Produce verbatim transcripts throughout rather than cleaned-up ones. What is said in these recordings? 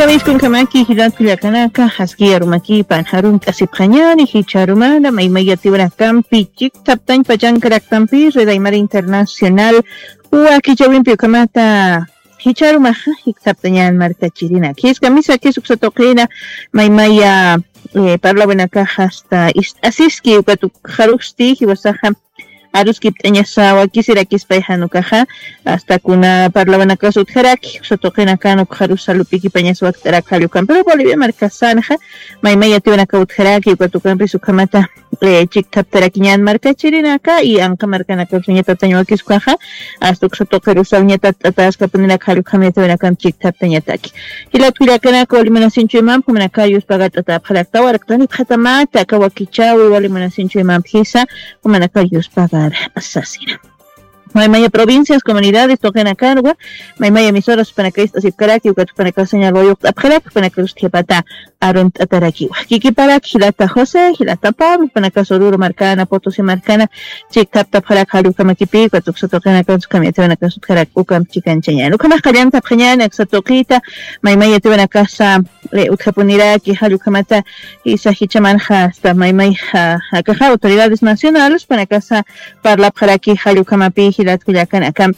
Iskunkamaki jilat kullakanaka, aski arumakipan, arunt'asipxañani, jichharumana, maymaya tiwrakampi, chikthaptañ pachankarakampi, Red Aymara Internacional, wakichawimpi ukhamata, jichharumaxa, jikthaptañan markachirinak. Jiskamisa, jis uksa tuqina, maymaya, eh, parlawinakaxa, hasta ist'asiski, uka tukxarusti, jiwasaxa, aruskipt'añasa wakisirakispa jan ukaxa, hasta kuna parlawanakas utjaraki, uksa tuqinakan ukxarus salupikipañas wakt'arak jall ukan. Pero Bolivia markasanxa, maymaya tiwinaka utjaraki, uka tukampis ukhamata, eh, chikthaptarakiñan markachirinaka, y anqa markanakarusaña tatañ wakiskuxa, hasta uksa tuqirusaña tat'ataskapunirak jall ukham yatiwinakamp chikthaptañataki. Jilat kullakanaka, wali munasinchuymamp, jumanaka yuspagart'atäpxarakta, waraktanipxatamata, aka wakichäwi, wali munasinchuymamp jisa, jumanaka yuspagara sasina. Maymaya provincias, comunidades, tuqinakanwa, maymaya emisoras jupanaka ist'asipkaraki, ukat jupanaka señal wayuqt'apxaraki, jupanaka lustjipata arunt'atarakiwa. Kikiparak, jilata José, jilata Pablo, jupanaka Oruro markana, Potosí markana, chikthaptapxarak jall ukhamakipi, ukat uksa tuqinakan, ukham yatiwinakas utjarak, ukamp chikanchañan. Ukhamax qallantapxañan, aksa tuqita, maymaya tiwinakasa, eh, utjapuniraki, jall ukhamata, jisa jichhamanxa, hasta maymayxa, akaxa autoridades nacionales, jupanakasa, parlapxaraki, jall ukhamapi, jilat kullakanaka.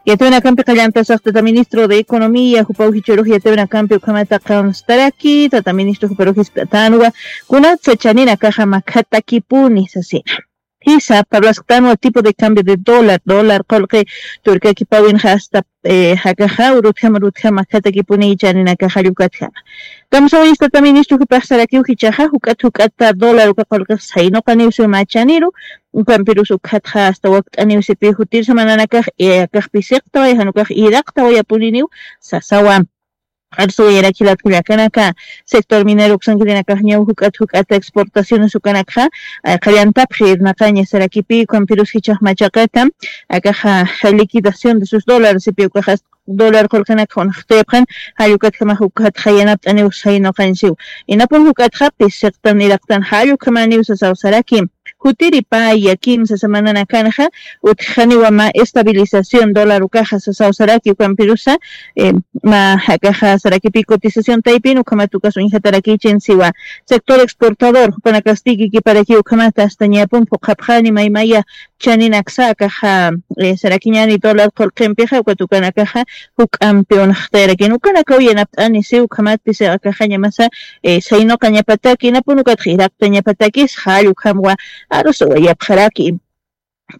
Yatiwinakampi qallantasax tata ministro de Economía, jupaw jichhürux yatiwinakampi ukhamata qawnstaraki, tata ministro juparux jisk'atanwa, kunatsa chaninakaxa makhatakipuni sasina. Jisa, parlasktanwa tipo de cambio de dólar, dólar qullqi turkakipawinxa hasta, eh, jakaxa, urutjama, urutjama, makhatakipuni chaninakaxa jall ukatjama. Kamsawayista tata ministro jupax sarakiw jichhaxa, juk'at, juk'ata dólar uka qullqix saynuqaniw siw mä chaniru, ukampirus ukhatxa hasta wakt'aniw sipi jutir samananakax, eh, akax pisiqtaway, jan ukax iraqtawayapuniniw, sasawa. Arsuwayarak jilat kullakanaka, sector minero uksankirinakax ñaw juk'at, juk'ata exportaciones ukanakxa, eh, qallantapxi irnaqaña sarakipi, ukampirus jichhax machaqatam, akaxa liquidación de sus dólares, sipi ukaxa dólar qullqinakxa unxtipxan, jall ukatjamax ukatxa yanapt'aniw saynuqañ siw. Inapun ukatxa pisiqtan iraqtan jall ukhamaniw sasaw saraki. Jutiri paya kimsa samananakanxa, utjaniwa mä estabilización dólar ukaxa sasaw saraki, ukampirusa, eh, mä jakaxa sarakipi cotización taypin ukhamat ukas uñjatarakichin siwa. Sector exportador, jupanakasti kikiparakiw ukhamata hasta ñapun phuqhapxani maymaya chaninaksa akaxa, eh, sarakiñani dólar qullqimpixa, ukat ukanakaxa juk'ampi unxtayarakin. Ukanakaw yanapt'ani siw ukhamatpis akaxañamasa, eh, saynuqañapataki, inapun ukatxa iraqtañapatakis, jall ukhamwa arusuwayapxaraki.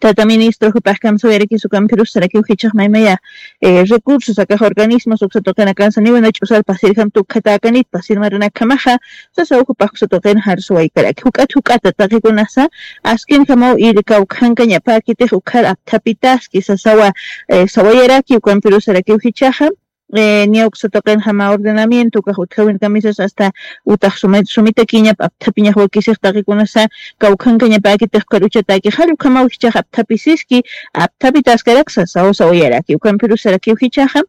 Tata ministro, jupax kamsawayarakis ukampirus sarakiw jichhax maymaya, eh, recursos, akax organismos, uksa tuqinakansa niwina ch'usar pasirjam tukjatäkanit, pasir marunakjamaxa, sasaw jupax uksa tuqin arsuwaykaraki. Juk'at, juk'ata taqikunasa, askinjamaw ir kawkhankañapäkitix ukhar apthapitaski, sasawa, eh, sawayaraki, ukampirus sarakiw jichhaxa, eh, niya uksa tuqinjama ordenamiento, ukax utjawin kamisas hasta utax sumi-, sumitakiñap apthapiñax wakisix taqikunasa, kawkhankañapäkitix ukhar uchatäki, jall ukhamaw jichhax apthapisiski, apthapitaskaraksa, saw sawayaraki, ukampirus sarakiw jichhaxa,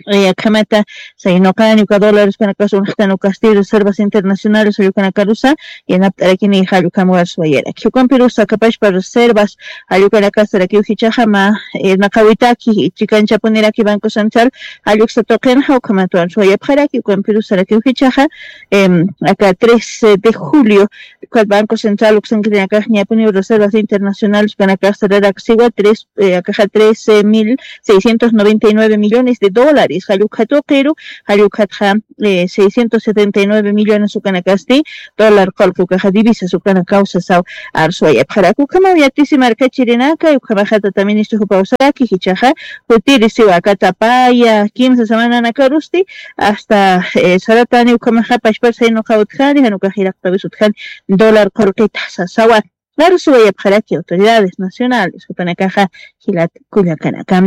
eh, akhamata, saynuqani uka dólares ukanakas unxtan ukasti reservas internacionales jall ukanakarusa, yanapt'arakini jall ukham arsuwayaraki. Ukampirusa kapachpa reservas jall ukanakas sarakiw jichhaxa mä, eh, irnaqawitaki, chikanchapuniraki Banco Central, jall uksa tuqinxa, ukhamat arsuwayapxaraki, ukampirus sarakiw jichhaxa, em, aka trece de julio, ukat Banco Central uksankirinakax ñapuniw reservas internacionales ukanakax sararak siwa tres, eh, akaxa trece mil seiscientos noventa y nueve millones de dólares, jall ukhat tuqiru, jall ukhatxa, eh, seiscientos setenta y nueve millones ukanakasti, dólar qullqi ukaxa divisas ukanakaw sasaw arsuwayapxaraki. Ukhamaw yatisi markachirinaka, ukhamaxa tata ministro jupaw saraki, jichhaxa, jutiri siwa aka tapaya, kimsa samananakarusti, hasta, eh, saratani ukhamaxa pachpar saynuqaw utjani, jan ukax iraqtawis utjani, dólar qullqita sasawa. Arsuwayapxaraki autoridades nacionales, jupanakaxa jilat kullakanaka.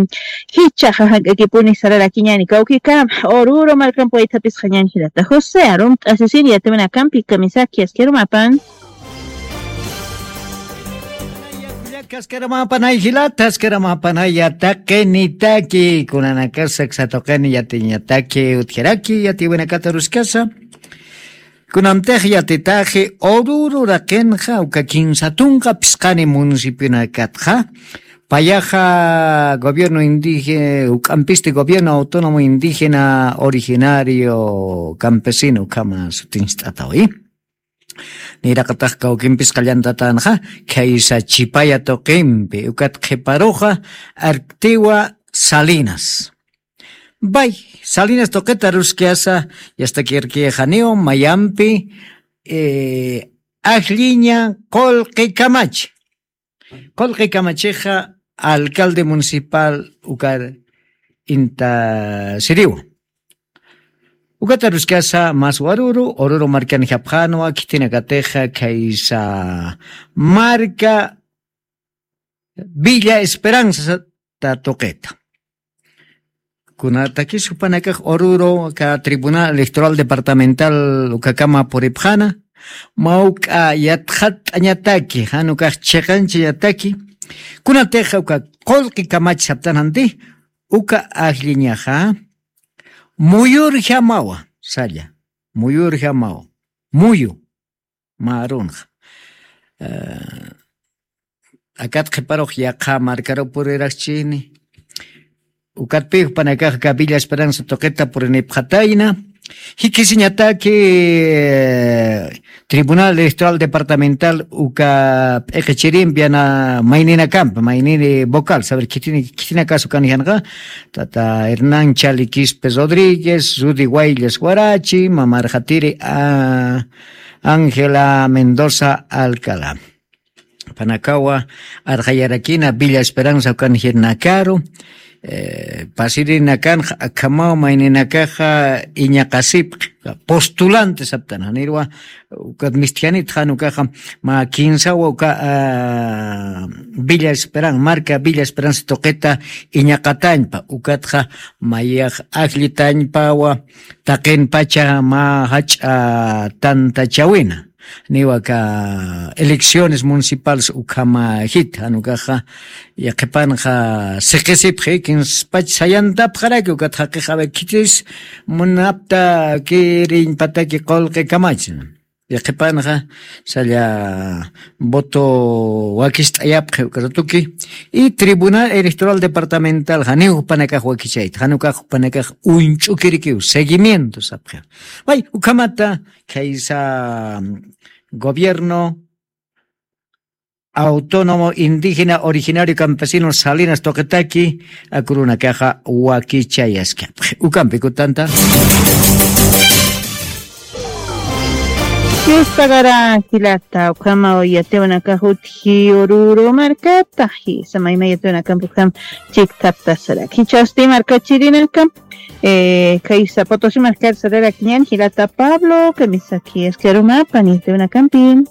Jichhaxa jank'akipuni sararakiñani kawkikama, Oruro markamp waythapisxañan jilata José, arunt'asisin yatiwinakampi kamisaki askirumapan. Askirumapanay jilata, askirumapanaya taqinitaki, kunanakas aksa tuqini yatiñataki utjaraki, yatiwinakata aruskasa. Kunamtix yatitaxi Oruro uraqinxa uka kinsa tunka phisqani municipionakatxa, Payaxa gobierno indígena, uk'ampisti gobierno autónomo indígena originario campesino ukhama sutinchit'atawi. Niraqatax kawkimpis qallantatanxa, khaysa Chipaya tuqimpi ukat qhiparuxa Arctiwa Salinas. Bay, Salinas tuqita ruskasa, yastakirkixaniw mayampi, eh, ajlliña Qulqi Kamach. Qulqi Kamachixa alcalde municipal ukar inta siriwa. Ukata ruskasa mas waruru, Oruro markan japjanwa, khitinakatixa khaysa marka Villa Esperanza ta tuqita. Kunatakis jupanakax Oruro ka Tribunal Electoral Departamental ukakama puripxana, mawk'a yatxat'añataki, jan ukax chiqanchañataki, kunatixa uka Qulqi Kamach saptananti, uka ajlliñaxa, muyurjamawa, salla, muyurjamawa, muyu, marunxa. Eh, akat qhiparux yaqha markaru puriraxchini. Ukatpi jupanakax ka Villa Esperanza tuqita purinipxatayna. Jikisiñataki, eh, Tribunal Electoral Departamental uka p'iqichirimpi yana mayninakampi, maynini vocal, saber, khitina, khitina caso kanjanqa, tata Hernán Chali Quispe Rodríguez, Rudy Guayllas Guarachi, mamarjatiri, ah, Ángela Mendoza Alcalá. Panakawa arxayarakina Villa Esperanza ukan jirnakaru, eh, pasirinakanxa akhamaw mayninakaxa iñaqasipxi, postulante saptan, janirwa, ukat mistjanit jan ukaxa, ma kinsawa uka, ah, Villa Esperanza, marka Villa Esperanza tuqita iñaqatañpa, ukatxa mayax ajllitañpawa, taqin pacha ma jach'a tantachawina. Niwa ka elecciones municipales ukhama jit, jan ukaxa, yaqhipanxa siqisipxi, kinspach sayantapxaraki, ukat jaqix, a ver, khitis munapta kiriñpataki Qulqi Kamach. Yaqhipanxa, salla voto wakist'ayapxi uka ratuki, y Tribunal Electoral Departamental, janiw jupanakax wakichayta, jan ukax jupanakax uñch'ukirikiw, seguimiento sapxi. Way, ukhamata, khaysa, mm, gobierno autónomo indígena originario campesino Salinas tuqitaki, akurunakaxa wakichayaskapxi. Ukampi kutanta. Yuspagaraki jilata, ukhama yatiwanakax utji Oruro markata, jisa mayma yatiwanakampi ukham chiktaptasaraki. Jichhasti markachirinakam, eh, khaysa Potosí markar sararakiñan, jilata Pablo, kamisaki askirumapa, yatiwanakampi.